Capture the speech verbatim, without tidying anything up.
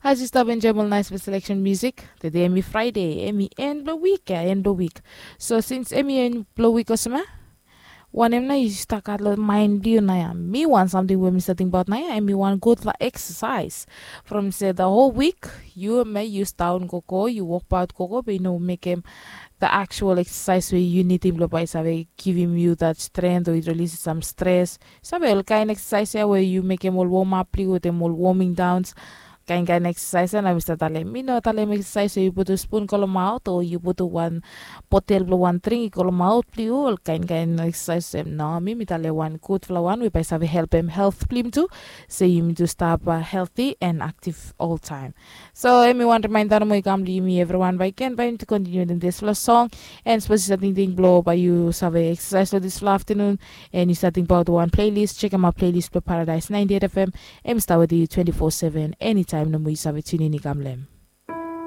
As yu stap enjoim ol naispela seleksen musik, tede em i Fraide, em i en blong wik ya, en blong wik. So sins em i en blong wik olsem ya, wanem nao yu stap gat long main blong yu nao ya? Mi wan samting we mi stap tingbaot nao ya, em i wan gudfala eksasaes. From se the whole week yu me yu staon gogo, yu wokbaot gogo, be yu no mekem the actual eksasaes we yu nidim blong bae i save givim yu that strength o i release sam stres. Save ol kain eksasaes ya we yu mekem ol womap blong yu wetem ol woming downs, kain kain eksasaes ya. Na mi stap talem, mi no talem eksasaes we yu putum spun go long maot o yu putum wan botel blong wan dring i go long maot blong yu, ol kain kain eksasaes em. No, mi mi talem wan gudfala wan we bae i save helpem helt blong yumi tu, se yumi tu stap healthy and active oltaem. So em i wan rimainda nomo i kam long yumi evriwan, bae i ken bae yumi tu kontiniu wetem dispela song. And sapos yu save tingting blong bae yu save eksasaes long dispela aftanun, and yu save tingbaot wan playlist, chekem aot playlist blong Paradise ninety-eight F M. Em i stap wetem yu twenty-four seven, anytime nomo yu save tunin i kam long em.